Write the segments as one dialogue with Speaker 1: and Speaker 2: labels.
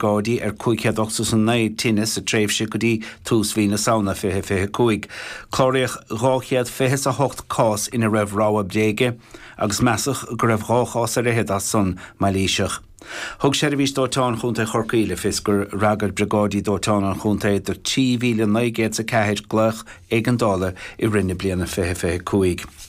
Speaker 1: Briogáidí ar 589 tine sa tréimhse go dtí tús mhí na Samhna 2025. Cláraíodh 228 cás ina raibh rabhadh bréige agus measadh go raibh 2 chás ar fhichead as san mailíseach. Thug Seirbhís Dóiteáin Chontae Chorcaí le fios gur fhreagair Briogáidí Dóiteáin an chontae do 3,904 glaoch éigeandála i rith na bliana 2025.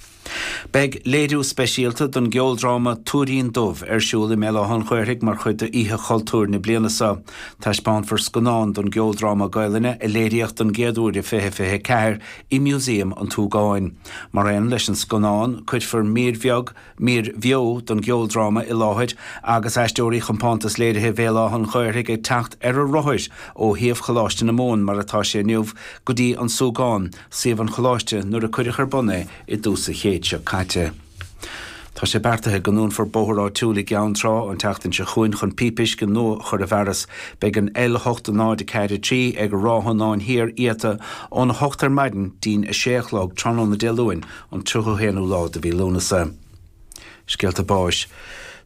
Speaker 1: Beidh léiriú speisialta den gceoldráma Tuairín Dubh ar siúl i mBéal Átha an Ghaorthaidh mar chuid d'Oíche Chultúir na bliana seo. Taispeánfar scannán den gceoldráma Gaelainne a léiríodh don gcéad uair i 2024 i Músaem an tSúgáin. Mar aon leis an scannán, cuirfear mír bheag, mír bheo den gceoldráma i láthair agus aisteoirí Chompántas Léirithe Bhéal Átha an Ghaorthaidh ag teacht ar a rothair ó shuíomh Choláiste na Mumhan mar atá sé inniu go dtí an Súgán, suíomh an Choláiste nuair a cuireadh ar bun é i dtús an chéid seo caite. Tá sé beartaithe go ndúnfar bóthar áitiúil i gCeann Trá an tseachtain seo chugainn chun píopa uisce nua a chur i bhfearas. Beidh an L8043 ag Ráth Fhionáin Thiar iata ón 8 ar maidin dtí'n 6 a chlog tráthnóna Dé Luain an 31ú lá de mhí Lúnasa. Scéalta báis.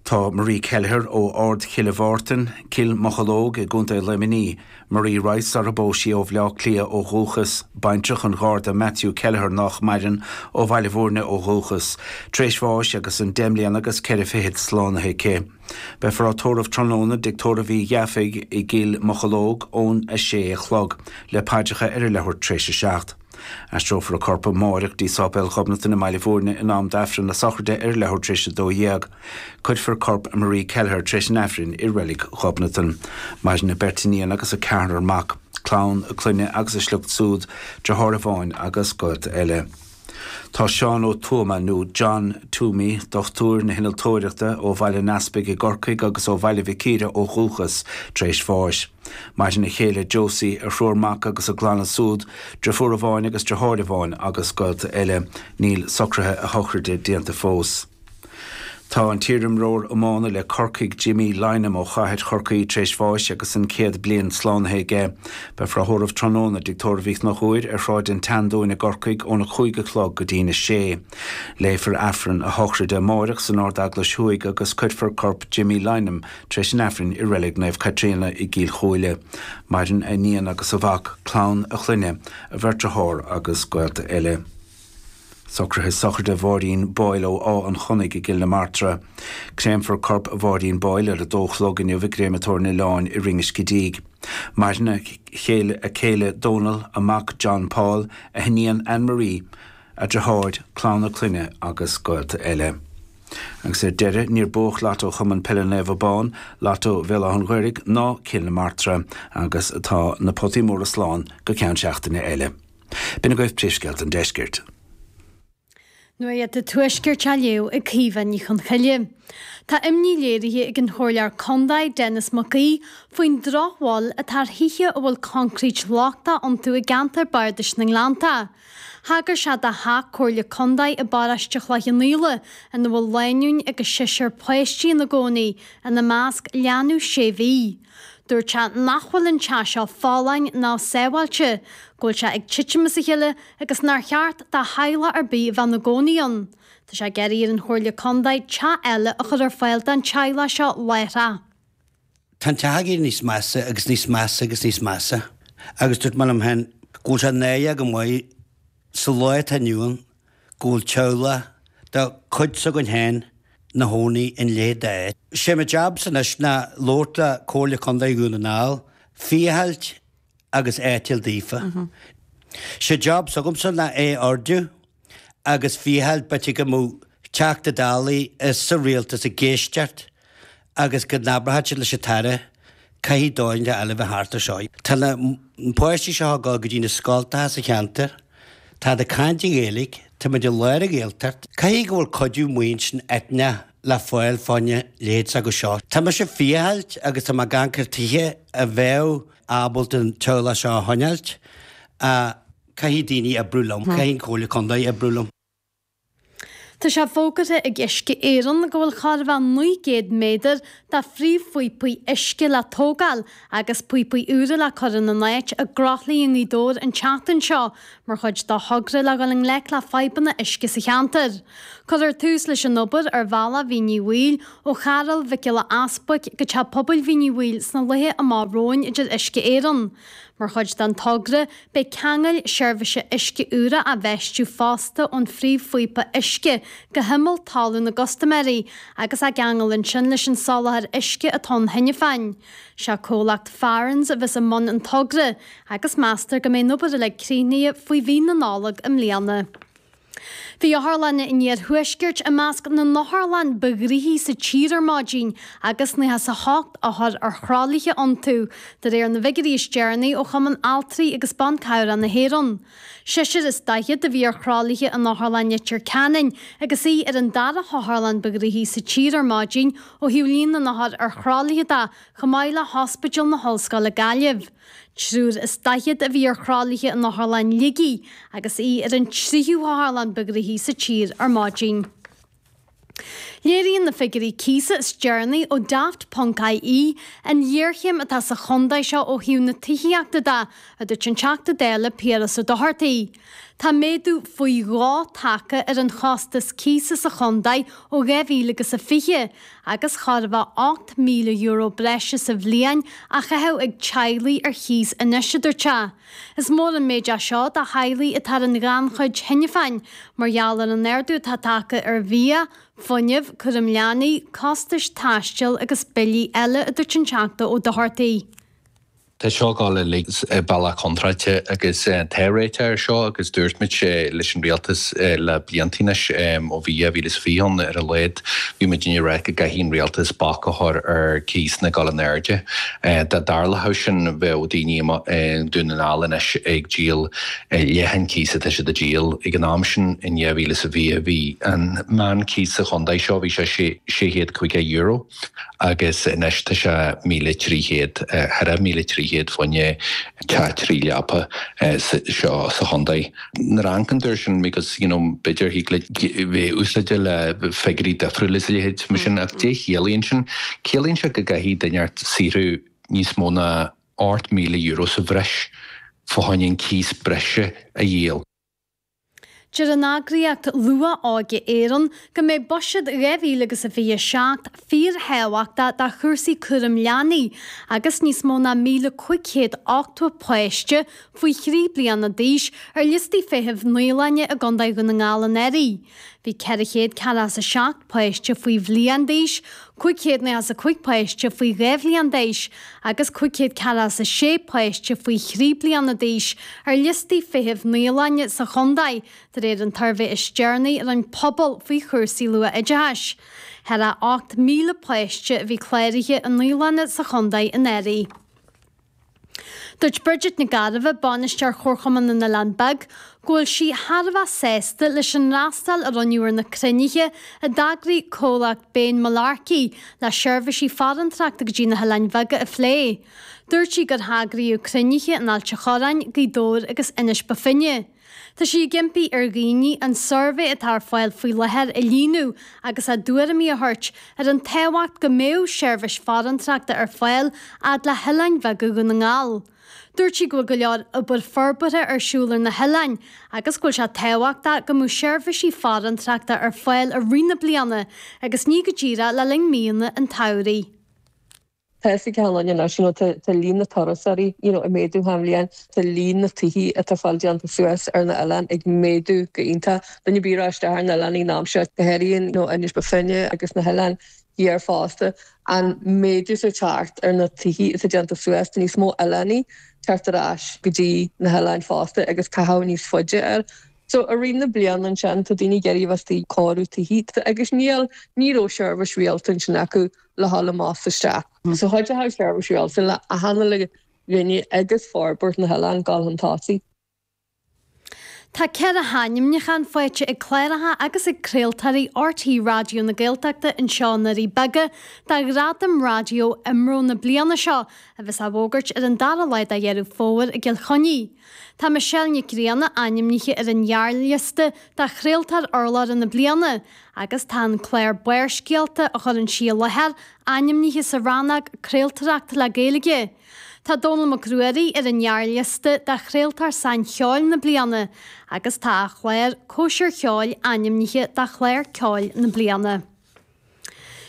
Speaker 1: Tá Marie Kelleher ó Ard Chille Mhártain, Cill Mocheallóg i gContae Luimnigh, Marie Rice sar a bpós sí ó Bhleá Cliath ó dhúchas, baintreach an Gharda Matthew Kelleher nách maireann, ó Bhaile Bhúirne ó dhúchas, tar éis bháis agus an deich mbliana agus ceithre fichid slánaithe aici. Beifear á tórramh tráthnóna i dTigh Tórraimh Uí Dhufaigh i gCill Mocheallóg ón 6 a chlog, le paidreacha ar a leathuair tar éis a 7. Aistreofar a corp amáireach dtí Sáipéal Ghobnatan i mBaile Bhúirne in am d'Aifreann na sochraide ar a leathuair tar éis 12. Cuirfear corp Marie Kelleher tar éis an Aifrinn i Reilig Ghobnatan. Maireann a beirt iníon agus a ceathrar mac, clann a clainne agus a sliocht súd, deartháir amháin agus gaolta eile. Tá Seán Ó Tuama, nó John Toomey, dochtúir na hinnealtóireachta ó Bhaile an Easpaig i gCorcaigh agus ó Bhaile Mhic Íre ó dhúchas, tar éis bháis. Maireann a chéile Josie, a thriúr mac agus a gclanna súd, driofúr amháin agus driotháir amháin agus gaolta eile. Níl socruithe a shochraide déanta fós. Tá an t-iarimreoir iomána le Corcaigh Jimmy Lynam ó chathair Chorcaí tar éis bháis agus an 100 bliain slánaithe aige. Beifear á thórramh tráthnóna i dTigh Tórraimh Uí Chonchúir ar Shráid an tSeandúin i gCorcaigh óna 5 a chlog go dtína 6. Léifear Aifreann a shochraide amáireach san Ard-Eaglais Thuaidh agus cuirfear corp Jimmy Lynam tar éis an Aifrinn i Reilig Naomh Caitríona i gCill Chúile. Maireann a iníon agus a mhac, clann a chlainne, a bheirt dearthár agus gaolta eile. Socruithe sochraide Mháirín Boyle ó Áth an Chonnaigh i gCill na Martra. Créamfar corp Mháirín Boyle ar a dó a chlog inniu i gCréamatóir an Oileáin i Rinn Scidígh. Maireann a chéile, a céile Dónal, a mac John Paul, a hiníon Anne Marie, a deartháir, clann a clainne agus gaolta eile. Agus ar deireadh, níor buadh Lotto Chumann Peile Naomh Abán, Lotto Bhéal Átha an Ghaorthaidh ná Cill na Martra agus tá na potaí móra slán go ceann seachtaine eile. B'in agaibh príomhscéalta an deiscirt.
Speaker 2: Nuacht an Tuaiscirt á léamh ag Caoimhe Ní Chonchoille. Tá imní léirithe ag an Chomhairleoir Contae, Denis Mac Aoidh, faoin drochbhail atá ar thithe a bhfuil coincréit lochtach iontu i gceantar Bardais na nGleannta. Thagair sé do theach Comhairle Contae i bparóiste Chloich Cheann Fhaola ina bhfuil lánúin agus seisear páistí ina gcónaí, ina measc leanbh sé mhí. Dúirt sé nach bhfuil an teach seo folláin ná sábháilte, go bhfuil sé ag titim as a chéile agus nár cheart do theaghlach ar bith a bheith ina gcónaí ann. Tá sé ag iarraidh ar an Chomhairle Contae teach eile a chur ar fáil don teaghlach seo láithreach.
Speaker 3: Tá an teach ag éirí níos measa agus níos measa agus níos measa agus dúirt mé liom féin go bhfuil sé náireach go maith sa lá atá inniu ann go bhfuil teaghlach de chuid s'againn féin 'na chónaí in a leithéid d'áit. Sé mo jabsa anois ná labhairt le Comhairle Contae Dhún na nGall, féachailt agus áit a fháil daofa. Sé job s'agamsa ná é a ardú agus féachailt b'fhéidir go mbeadh Teachta Dálaí is sa rialtas ag éisteacht agus go n-abródh siad leis an tAire caithfidh dóigh eile a bheith thart ar seo. Tá na páistí seo ag dul go dtí na scoltacha sa cheantar, táid ag caint i nGaeilge, táimid i lár an Ghaeltacht. Caithfidh go bhfuil cuidiú maoin eitneach le fáil fána leithéid s'acu seo. Tá mise ag féachailt agus tá mé ag amharc ar tithe a bheadh ábalta an teaghlach seo a choinneáilt ach caithfidh daoine oibriú liom, caithfidh an Chomhairle Contae oibriú liom.
Speaker 2: Tá sé fógartha ag Uisce Éireann go bhfuil chóir a bheith 900 méadar de phríomhphíopaí uisce le tógáil agus píopaí úra le cur ina n-áit i gCroithlí i nGaoth Dobhair an tseachtain seo mar chuid de thogra le dhul i ngleic le fadhbanna uisce sa cheantar. Cuirfear tús leis an obair ar bhealach Mhín Uí Bhaoill ó Charúl Mhic Giolla Easbuic go Teach Pobail Mhín Uí Bhaoill sna laetha amach romhainn, a deir Uisce Éireann. Mar chuid den togra, beidh ceangail seirbhíse uisce úra á bhfeistiú fosta ón phríomhphíopa uisce go himeall talún na gcustaiméirí agus á gceangal ansin leis an soláthar uisce atá ann cheana féin. Sé comhlacht Farrans a bheas i mbun an togra agus meastar go mbeidh an obair uilig críochnaithe faoi mhí na Nollag i mbliana. Bhí Otharlann an Iarthuaiscirt i measc na n-otharlann ba ghnoithí sa tír ar maidin agus 98 othar ar thralaithe iontu, de réir na bhfigiúirí is deireanaí ó Chumann Altraí agus Ban Cabhrach na hÉireann. Seisear is daichead a bhí ar thralaithe in Otharlann Leitir Ceanainn agus í ar an dara hotharlann ba ghnoithí sa tír ar maidin ó thaobh líon na n-othar ar thralaithe de, chomh maith le hOspidéal na hOllscoile Gaillimh. Triúr is daichead a bhí ar thralaithe in Otharlann Shligigh agus í ar an tríú hotharlann ba ghnoithí sa tír ar maidin. Léiríonn na figiúirí cíosa is deireanaí ó Daft ponc ie an ghéarchéim atá sa chontae seo ó thaobh na tithíochta de, a dúirt an Teachta Dála Piaras Ó Dochartaigh. Tá méadú faoi dhó tagtha ar an chostas cíosa sa chontae ó 2020 agus chóir a bheith €8,000 breise sa bhliain á chaitheamh ag teaghlaigh ar chíos anois, a dúirt sé. Is mór an méid é seo do theaghlaigh atá ar an ghannchuid cheana féin mar gheall ar an ardú atá tagtha ar bhia, fuinneamh, cúram leanaí, costais taistil agus billí eile, a dúirt an Teachta Ó Dochartaigh.
Speaker 4: Tá seo ag dul uilig bealach contráilte agus tá réiteach air seo agus dúirt muid leis an rialtas le blianta anois, ó bhí 2020 ann ar a laghad, bhí muidinne ag rá go gcaithfidh an rialtas bac a chur ar cíosanna ag dul in airde. Dá dtarlódh sin bheadh daoine i nDún na nGall anois ag díol leath an cíos atá siad ag díol. Ag an am sin in 2020 bhí an meán cíos sa chontae seo, bhí sé €650. agus anois tá sé 1,300, thar 1,300 fá choinne teach 3 leapa seo sa chontae. Nuair a amharcann tú air sin because you know b'fhéidir thig leat bheith úsáide le figiúirí difriúla is a leithéid mar sin ach cad é chiallaíonn sin? Ciallaíonn sé go gcaithfidh duine ort saothrú níos mó ná €8,000 sa bhreis fá choinne an cíos breise a dhíol.
Speaker 2: Deir an eagraíocht Luath-Óige Éireann go mbeidh Buiséad 2027 fíorthábhachtach do chúrsaí cúraim leanaí agus níos mó ná 1,580 páiste faoi thrí bliana d'aois ar liostaí feithimh naíolainne i gContae Dhún na nGall anuraidh. Bhí 447 páiste faoi bhliain d'aois, 595 páiste faoi dhá bhliain d'aois agus 546 páiste faoi thrí bliana d'aois ar liostaí feithimh naíolainne sa chontae, de réir an tsuirbhé is deireanaí a rinne Pobal faoi chúrsaí luath-oideachais. Thar a 8,000 páiste a bhí cláraithe i naíolanna sa chontae anuraidh. Dúirt Bridget Nic Gairbheith, Bainisteoir Chomharchumann na nOileán Beag, go bhfuil sí thar a bheith sásta leis an fhreastal a rinneadh ar na cruinnithe a d'eagraigh comhlacht Bain Mullarkey le seirbhísí farantrachta go dtí na hOileáin Bheaga a phlé. Dúirt sí gur heagraíodh cruinnithe in Ailt a' Chorráin, Gaoth Dobhair agus Inis Bó Finne. Tá sí ag impí ar dhaoine an suirbhé atá ar fáil faoi láthair a líonadh agus a dtuairimí a thabhairt ar an tábhacht go mbeadh seirbhís farantrachta ar fáil fhad le hoileáin bheaga Dhún na nGall. Dúirt sí go bhfuil go leor obair forbartha ar siúl ar na hoileáin agus go bhfuil sé tábhachtach go mbeadh seirbhísí farantrachta ar fáil i rith na bliana agus ní go díreach le linn míonna an tsamhraidh.
Speaker 5: Tá a fhios ag achan duine anois, you know, tá tá líon na turasóirí, you know, ag méadú achan bhliain, tá líon na tithe atá fáil déanta suas ar na oileáin ag méadú go iontach. Duine ar bith a raibh isteach ar na oileáin an am seo, go háirithe, you know, Inis Bó Finne agus na hoileáin thiar fosta, an méadú atá teacht ar na tithe atá déanta suas, tá níos mó oileánaigh teacht ar ais go dtí na hoileáin fosta agus caitheamh níos faide air. So i rith na bliana ansin tá daoine ag iarraidh a bheith istigh ag cóiriú tithe agus níl, ní raibh seirbhís rialta ansin acu le dhul amach is isteach. So chuideodh seirbhís rialta le achan uile dhuine agus forbairt na hoileán dul chun tosaigh.
Speaker 2: Tá 4 hainmniúchán faighte ag cláracha agus ag craoltóirí RTÉ Raidió na Gaeltachta anseo i nDoirí Beaga do Ghradam Raidió IMRO na bliana seo, a bheas á bhfógairt ar an dara lá de Dheireadh Fómhair i gCill Chainnigh. Tá Michelle Nic Grianna ainmnithe ar an ghearrliosta do Chraoltóir Urlabhra na Bliana agus tá an clár Barrscéalta a chuireann sí i láthair ainmnithe sa rannóg Craoltóireacht le Gaeilge. Tá Dónall Mac Ruairí ar an ngearrliosta do Chraoltóir Saincheoil na Bliana agus tá a chlár Cóisir Cheoil ainmnithe do Chlár Ceoil na Bliana.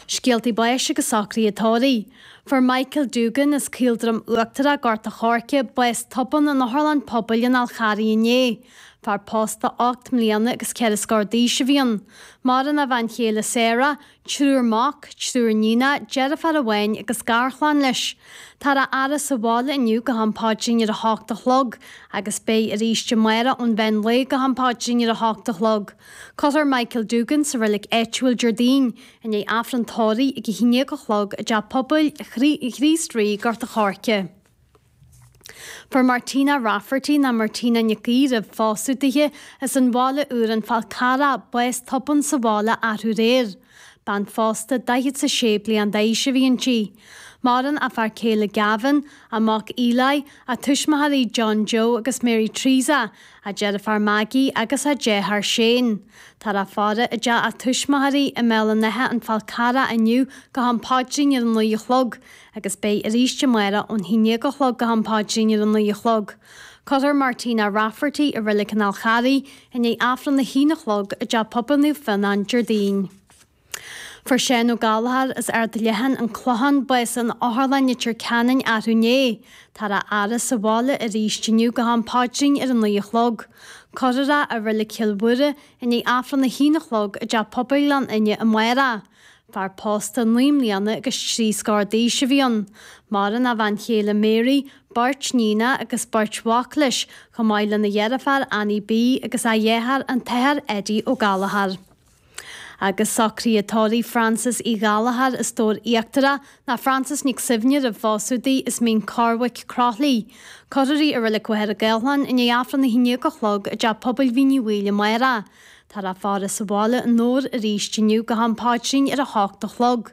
Speaker 2: Scéaltaí báis agus socruithe tórraimh. Fuair Michael Doogan as Caoldroim Uachtarach, Gort a' Choirce, bás tobann in Otharlann Pobail an Fháil Charraigh inné. Fear pósta 8 mbliana agus ceithre scór d'aois a bhí ann. Maireann a bhean chéile Sarah, Triúr mac, triúr níonach, deirfiúr amháin agus garchlann leis. Táthar á fhaire sa bhaile inniu go ham paidrín ar a hocht a chlog agus beidh arís amárach ón mheán lae go ham paidrín ar a hocht a chlog. Cuirfear Michael Doogan sa reilig áitiúil Déardaoin i ndiaidh Aifreann tórraimh ag a haon déag a chlog i dTeach Pobail Chríost Rí, Gort a' Choirce. Fuair Martina Rafferty ná Martina Nic Aoidh roimh phósadh dithe as an Bhaile Úr An Fál Carrach bás tobann sa bhaile arú aréir. Bean phósta 46 bliain d'aois a bhí inti. Maireann a fear céile Gavin, a mac Eli, a tuismitheoirí John Joe agus Mary Teresa, a deirfiúr Maggie agus a deartháir Shane. Táthar á faire i dteach a tuismitheoirí i mBéal an Átha An Fál Carrach inniu go ham paidrín ar a 9 a chlog agus beidh arís amárach ón haon déag a chlog go ham paidrín ar a 9 a chlog. Cuirfear Martina Rafferty i Reilig an Fháil Charraigh i ndiaidh Aifreann a haon a chlog i dTeach Pobail Naomh Fionnán Déardaoin. Fuair Seán Ó Gallchóir as Ard Leatháin, An Clochán, bás in Otharlann Leitir Ceanainn arú inné. Táthar á fhaire sa bhaile arís inniu go ham paidrín ar a 9 a chlog. Cuirfear é i Reilig Chill Mhuire i ndiaidh Aifreann a haon a chlog i dTeach Pobail Ghleann Fhinne amárach. Fear pósta 9 mbliana agus 3 scór d'aois a bhí ann. Maireann a bhean chéile Mary, beirt níonach agus beirt mhac leis, chomh maith lena dheirfiúr Annie B agus a dheartháir an tAthair Eddie Ó Gallchóir. Agus socruithe tórraimh Frances Uí Ghallchóir as Dobhar Íochtarach ná Frances Nic Suibhne roimh phósadh di as Mín Corrbhaic, Croithlí. Cuirfear í i Reilig Mhachaire Gathlán i ndiaidh Aifreann a haon déag a chlog i dTeach Pobail Mhín Uí Bhaoill amárach. Táthar á faire sa bhaile i nDobhar arís inniu go ham paidrín ar a hocht a chlog.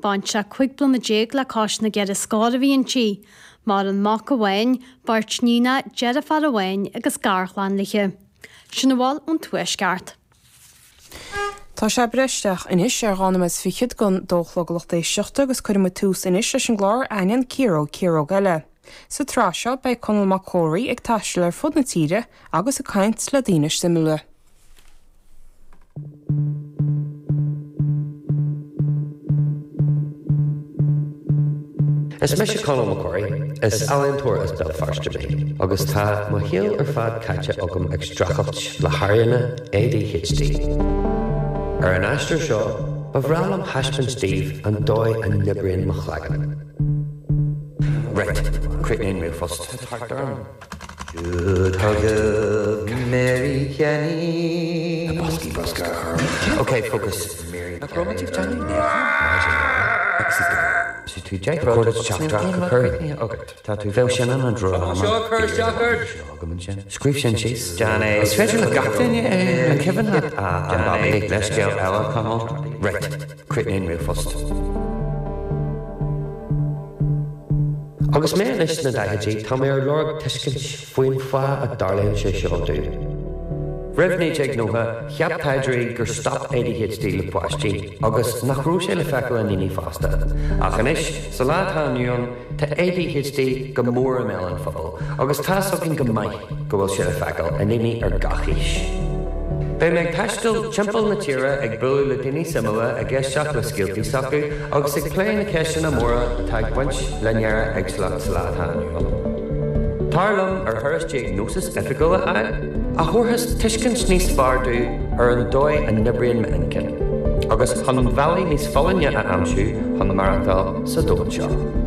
Speaker 2: Baintreach 15 bliana le cois na gceithre scór a bhí inti. Maireann mac amháin, beirt níonach, deirfiúr amháin agus garchlann léi. Sin a bhfuil ón Tuaisceart.
Speaker 6: Tá sé ag breith isteach anois ar dhá nóiméad is fichead don dó a chlog a lucht éisteachta agus cuirfidh muid tús anois leis an gclár Aithníonn Ciaróg Ciaróg Eile. Sa tsraith seo beidh Conall Mac Comhraí ag taisteal ar fud na tíre agus ag caint le daoine suimiúla.
Speaker 7: Is mise Conall Mac Comhraí, is ealaíontóir as Béal Feirste mé, agus tá mo shaol ar fad caite agam ag streachailt le hairíonna ADHD. Ar an aistear seo, ba bhreá liom thaispeáint daoibh an dóigh a n-oibríonn mo chloigeann. Right, críochnaigh an ríomhphost. Tá thart orm. Jude forgive Mary Kenny. Na boscaí bruscair a chur. Ok, focus. Nach raibh muid ag déanamh Bheadh sin an dráma. Scríobh sin síos. Is féidir le gach duine é. An cuimhin leat an babaí? Leithscéal eile, Conall. Right, críochnaigh an ríomhphost. Agus mé anois sna daichidí, tá mé ar lorg tuiscint faoin fáth a dtarlaíonn sé seo domh. Roimh 1990, cheap taighdeoirí gur stop ADHD le páistí agus nach raibh sé le feiceáil i ndaoine fásta. Ach anois, sa lá atá inniu ann, tá ADHD go mór i mbéal an phobail agus tá's againn go maith go bhfuil sé le feiceáil i ndaoine ar gach aois. Beidh mé ag taisteal timpeall na tíre ag bualadh le daoine suimiúla, ag éisteacht le scéaltaí s'acu agus ag plé na ceisteanna móra atá ag baint le néara-éagsúlacht sa lá atá inniu ann. Tar liom ar thuras diagnósis oifigiúil a fháil, a thabharfas tuiscint níos fearr domh ar an dóigh a n-oibríonn m'inchinn, agus chun bealaí níos folláine a aimsiú chun maireachtáil sa domhan seo.